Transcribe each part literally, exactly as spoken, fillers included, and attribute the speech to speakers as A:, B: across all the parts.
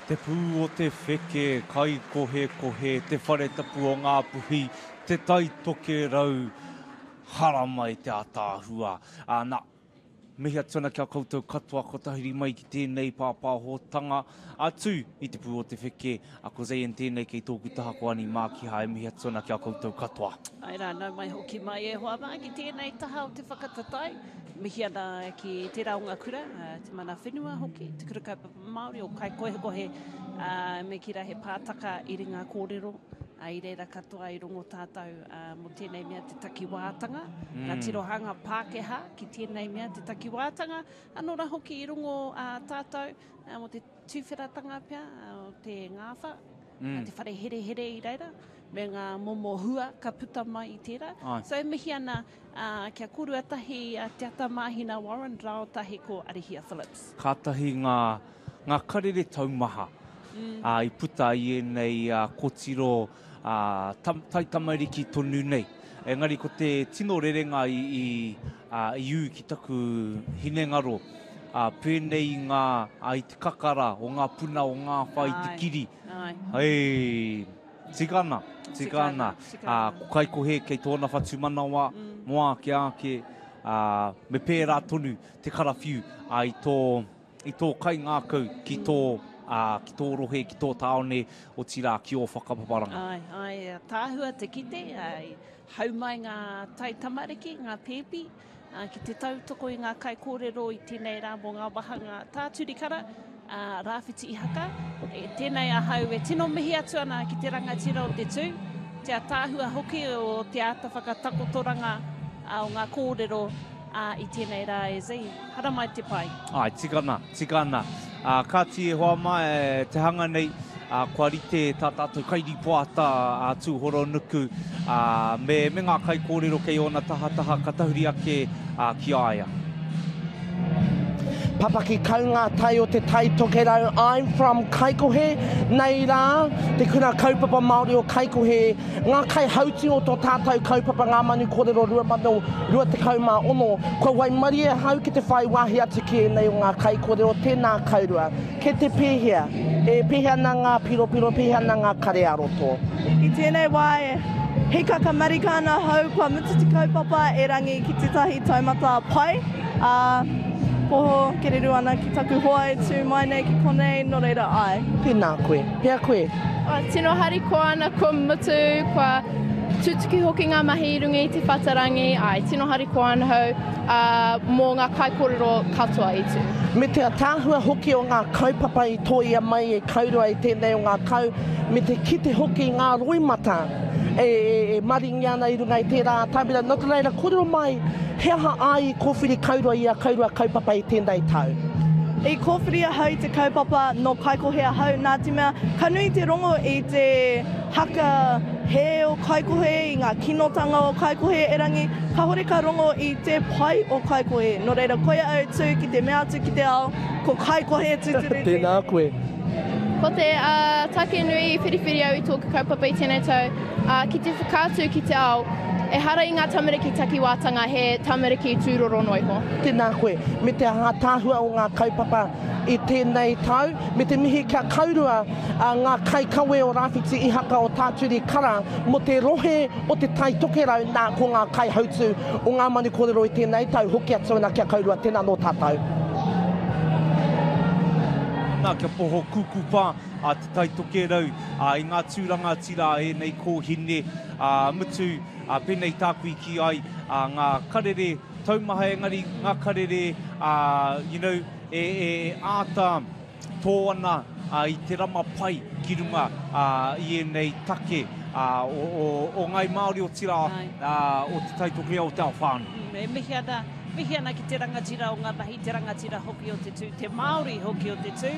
A: Te pū o te wheke, Kaikohekohe, te whare tapu o Ngāpuhi, te Tai Tokerau, haramai te ataahua. Nā, mihi atu ana ki a koutou katoa ko tahuri mai ki tēnei pāpāhotanga atu i te pū o te wheke. A ko Zayn tēnei kei tōku taha ko Ani Mākiha e mihi atu ana ki a koutou katoa.
B: Ai rā, nau mai hoki mai e hoa mā ki tēnei taha o te whakataetae. Mihi ana ki tērā o ngā kura, te mana whenua hoki, te kura kaupapa Māori o Kaikohekohe, me kī rā he pātaka i ringa kōrero, i reira katoa i rongo tātou mō tēnei mea te takiwātanga, mm. ngā tirohanga Pākehā ki tēnei mea te takiwātanga, anō rā hoki i rongo tātou mō te tuwheratanga pea o te ngāwha, mm. te whare herehere i reira, me ngā momo hua ka puta mai i tērā. Ai. So e mihi ana uh, kia korua tahi uh, Te Ata Mahina Warren rāo tahi ko Arihia Phillips.
A: Kātahi ngā, ngā karere taumaha mm. uh, i puta i ēnei uh, kotiro uh, tam, taitamariki tonu nei. Engari ko te tino rerenga i, i, uh, i ū ki taku hinengaro, uh, pēnei i, ngā, uh, i te kakara o ngā puna o ngā whai te kiri.
B: Ai.
A: Hei, tika ana, tika ana. Uh, ko Kaikohe kei tōna whatumanawa, mm. mō ake ake, uh, me pērā tonu te karawhiu uh, i tō, i tō kaingākau ki tō, uh, ki tō rohe, ki tō tāone, otirā ki ō whakapaparanga.
B: Ai, ai, tāhua te kite, ai, hau mai ngā tai tamariki, ngā pēpi, uh, ki te tautoko i ngā kaikōrero i tēnei rā mō ngā wāhanga tāturikara, uh, Rāwhiti Ihaka. E, tēnei ahau e tino mihi atu ana ki te rangatira o te tū, te ataahua hoki o te āta whakatakotoranga uh, o ngā kōrero uh, i tēnei rā e Zee. Haramai te pai.
A: Ai, tika ana, tika ana. Uh, kāti e hoa mai e, te hanga nei, uh, kua rite tā tātou kairipoata a Tūhoronuku, uh, me, me ngā kaikōrero kei ōna tahataha ka tahuri ake uh, ki a ia.
C: Papaki kau ngā tai o te Tai Tokerau. I'm from Kaikohe. Nei rā, te kura kaupapa Māori o Kaikohe. Ngā kaihautu o tō tātou kaupapa Ngā Manu Kōrero rua mano rua tekau mā ono. Kua waimarie ahau ki te whai wāhi atu ki ēnei o ngā kaikōrero. Tēnā kaurua. Ke te pēhea? E pēhea ana ngā piropiro, pēhea ana ngā kare ā-roto?
D: I tēnei wā e hikaka marika ana hau, kua mutu te kaupapa e rangi ki tētahi taumata pai. Uh, poho kereru ana ki taku hoa e tū mai nei ki konei, nō reira ai.
C: Tēnā koe. Hea koe?
E: Oh, tino harikoa ana kua mutu, kua tutuki hoki ngā mahi i runga i te whatarangi, ai, tino harikoa ana hau uh, mō ngā kaikōrero katoa i tū.
C: Me te ataahua hoki o ngā kaupapa i tōia mai e kaurua i tēnei o ngā kau, me te kite hoki ngā roimata e, e, e maringi ana i runga i tērā atamira. Nō te reira, kōrero mai, he aha ai i kōwhiri kaurua i a kaurua kaupapa i tēnei tau?
D: I kōwhiri ahau i te kaupapa nō Kaikohe ahau, nā te mea ka nui te rongo i te haka he o Kaikohe, i ngā kinotanga o Kaikohe erangi, kāhore ka rongo i te pai o Kaikohe. Nō reira, koia au tū ki te mea atu ki te ao, ko Kaikohe tūturu.
C: Tēnā koe.
E: Ko te uh, take nui i whiriwhiri au i tōku kaupapa i tēnei tau, uh, ki te whakaatu ki te ao, ehara i ngā tamariki takiwātanga, he tamariki tūroro noa iho.
C: Tēnā koe, me te ātaahua o ngā kaupapa i tēnei tau, me te mihi kia kaurua uh, ngā kaikawe o Rāwhiti Ihaka o Tāturi Kara mō te rohe o te Tai Tokerau, nā ko ngā kaihautu o ngā manu kōrero i tēnei tau, hoki atu ana kia kaurua, tēnā nō tātou.
A: Nā, kia poho kukupa a te Tai Tokerau a, i ngā tūranga tira e nei kōhine a, mutu a, pēnei tāku i ki ai a, ngā karere taumaha engari ngā karere a, you know, e, e āta tō ana a, i te rama pai ki runga a, i ēnei take a, o, o, o Ngai Māori o tira a, o te Tai Tokerau o te ao whānui.
B: E mihi ana, mihi ana ki te rangatira o ngā mahi, te rangatira hoki o te tū, te Māori hoki o te tū,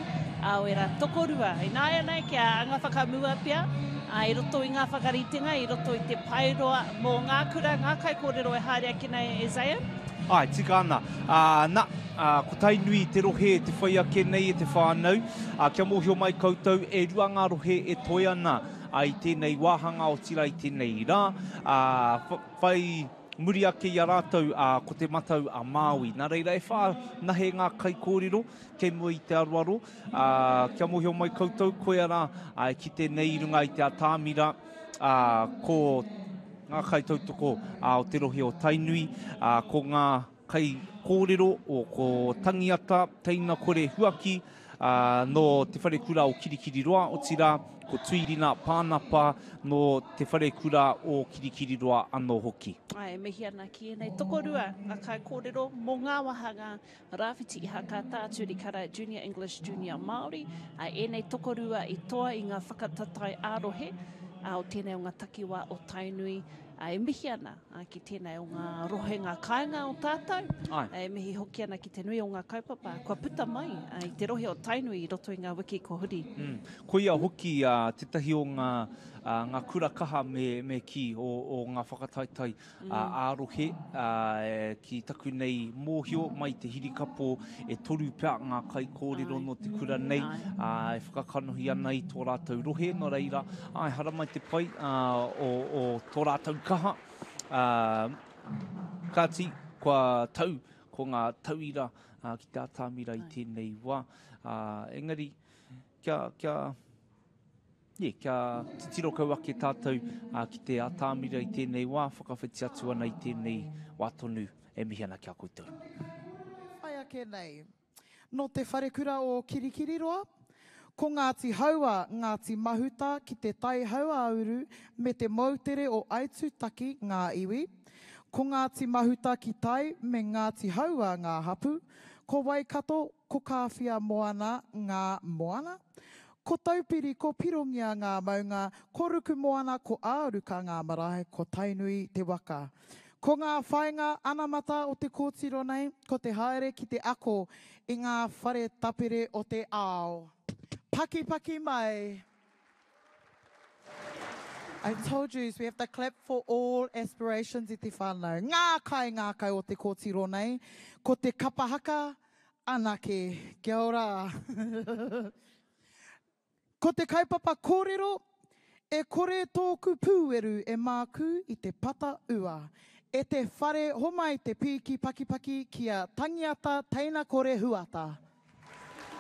B: a o era tokorua. Ināianei kia anga whakamua pea, a, i roto i ngā whakaritenga, i roto i te paeroa mō ngā kura, ngā kaikōrero e haere ake nei e Zayn.
A: Ai, tika ana. Uh, na, uh, ko Tainui te rohe te whai ake nei e te whānau. Uh, kia mōhio mai koutou e rua ngā rohe e toe ana uh, i tēnei wāhanga o tira i tēnei rā. Uh, whai Muri ake i a rātou uh, ko te matau a Māui. Nā reira e whā nahe ngā kaikōrero kei mua i te aroaro. Uh, kia mōhio mai koutou koe ara uh, ki tēnei i runga i te atāmira uh, ko ngā kaitautoko uh, o te rohe o Tainui, uh, ko ngā kaikōrero o ko Tangiata, Teina Kore Huaki, uh, no te wharekura o Kirikiriroa, otirā ko Tuirina Pānapa no te wharekura o Kirikiriroa anō hoki.
B: Ai, e mihi ana ki ēnei tokorua ngā kaikōrero mō ngā wāhanga Rāwhiti Ihaka, Tā Turikara, Junior English, Junior Māori. Ai, ēnei tokorua i toa i ngā whakataetae ā-rohe o tēnei o ngā takiwā o Tainui. E mihi ana ki tēnei o ngā rohe, ngā kāinga o tātou. Ai. E mihi hoki ana ki te nui o ngā kaupapa kua puta mai i te rohe o Tainui i roto i ngā wiki ko huri.
A: Mm. Koia hoki uh, tētahi o ngā, uh, ngā kura kaha me, me ki o, o ngā whakataetae mm. uh, ā-rohe uh, ki taku nei mōhio mai te hirikapo e toru pea ngā kaikōrero no te kura nei uh, e whakakanohi ana i tō rātou rohe, nō reira, ai, haramai te pai uh, o, o tō rātou kaha. Uh, kāti, kua tau, ko ngā tauira uh, ki te atāmira i tēnei wā. Uh, engari, kia, kia, yeah, kia titiro kau ake tātou uh, ki te atāmira i tēnei wā, whakawhiti atu ana i tēnei wā tonu e mihi ana ki a koutou.
F: Whai ake nei, no te wharekura o Kirikiriroa, ko Ngāti Haua, Ngāti Mahuta ki te Tai Hauāuru me te moutere o Aitutaki ngā iwi, ko Ngāti Mahuta ki Tai me Ngāti Haua ngā hapu, ko Waikato, ko Kāwhia Moana ngā moana, ko Taupiri, ko Pirongia ngā maunga, ko Ruku Moana, ko Āruka ngā marae, ko Tainui te waka. Ko ngā whainga anamata o te kōtiro nei, ko te haere ki te ako i ngā whare tapere o te ao. Paki paki mai. I told you, so we have to clap for all aspirations i te whānau. Ngā kai ngākau o te kōtiro nei, ko te kapahaka anake. Kia ora. Ko te kaupapa kōrero, e kore tōku pūweru e māku i te pata ua. E te whare homai te pīki pakipaki ki a Tangiata Teina Kore Huata.